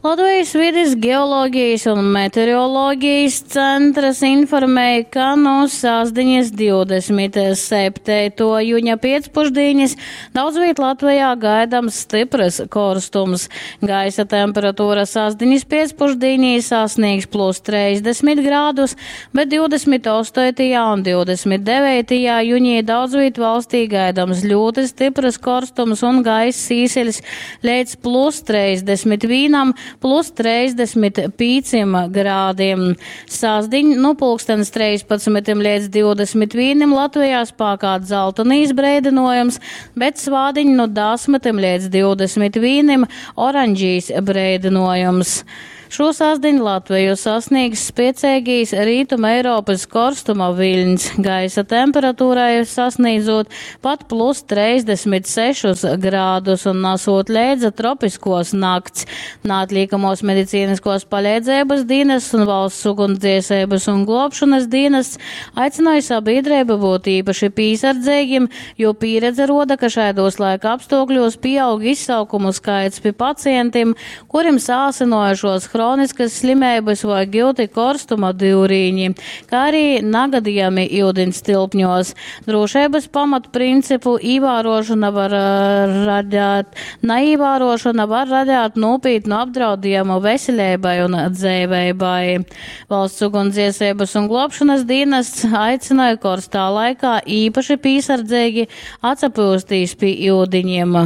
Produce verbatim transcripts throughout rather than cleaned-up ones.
Latvijas vides geoloģijas un meteoroloģijas centrs informēja, ka no sasdiņas divdesmit septīto juņa piecpušdienas daudzviet Latvijā gaidams stiprs korstums. Gaisa temperatūra sasdiņas piecpušdienī sasniegs plus trīsdesmit grādus, bet divdesmit astotajā un divdesmit devītajā juņī daudzviet valstī gaidams ļoti stiprs korstums un gaiss īsiļs līdz plus trīsdesmit vienam, plus trīsdesmit pieciem grādiem. Sasdiņ, nu, pulkstens trīspadsmitim līdz divdesmit vienam Latvijā spēkā dzeltenīs breidinojums, bet svādiņ no desmitim līdz divdesmit vienam oranžīs breidinojums. Šo sasdiņu Latviju sasniegs spēcīgīs Rītuma Eiropas korstuma viļņs. Gaisa temperatūrai sasniedzot pat plus trīsdesmit sešus grādus un nesot leidza tropiskos nakts. Neatliekamos medicīniskos palīdzības dienests un valsts ugunsdzēsības un glābšanas dienests aicināja sabiedrību būt īpaši piesardzīgiem, jo pieredze roda, ka šādos laika apstākļos pieaug izsaukumu skaits pie pacientiem, kuriem sāsinojušos hroniskas slimības vai gilti korstuma dyurīņi, kā arī nagadījumi ūdens tilpņos. Drošības pamatprincipu ievērošana var, eh, radāt, neievērošana var radīt nopietnu apdraudējumu veselībai un dzīvībai. Valsts ugunsdzēsības un glābšanas dienests aicināja karstā laikā īpaši piesardzīgi atsapūstīs pie ūdeņiem.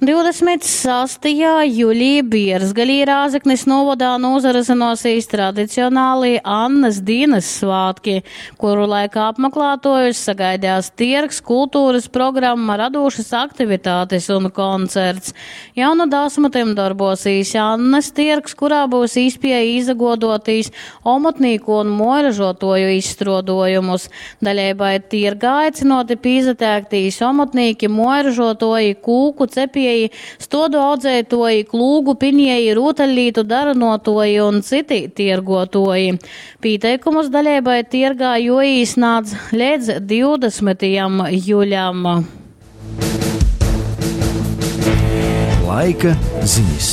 Divdesmit sastajā jūlijā Bierzgalī Rāzeknis novadā nozarezinosīs tradicionāli Annas dienas svētki, kuru laikā apmeklētojus sagaidās tirgs, kultūras programma, radošas aktivitātes un koncerts. Jau no desmitiem darbosīs Annas tirgs, kurā būs īspēja izagodotīs omotnīku un moiražotoju izstrodojumus. Daļai tirgā aicinoti pīzatēktīs omotnīki, moiražotoji, kūku cepieji, stodu audzētoji, klūgu pinieji, rūtaļlītu daranotoji un citi tirgotoji. Pieteikumus daļai tirgā joīsnāc līdz divdesmitajam jūlijam. Laika ziņas.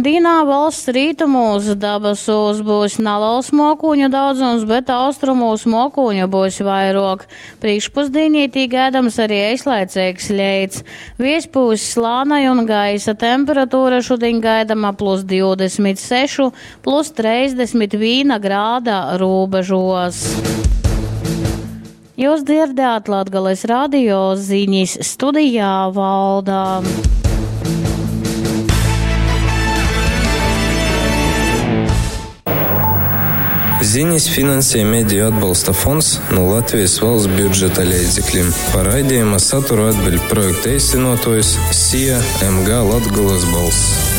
Dīnā valsts rītumos dabasūs būs neliels mokūņu daudzums, bet austrumos mokūņu būs vairāk. Priekšpusdienī tī gaidams arī eislaicīgs leits. Viejs pūs slānai un gaisa temperatūra šodien gaidama plus divdesmit sešu, plus trīsdesmit viena grāda robežos. Jūs dzirdējāt Latgales radio ziņas studijā Valdā. Ziņas finansē Mediju atbalsta fonds no Latvijas valsts budžeta līdzekļiem. Par raidījuma saturu atbild projekta īstenotājs S I A M G Latgulas balss.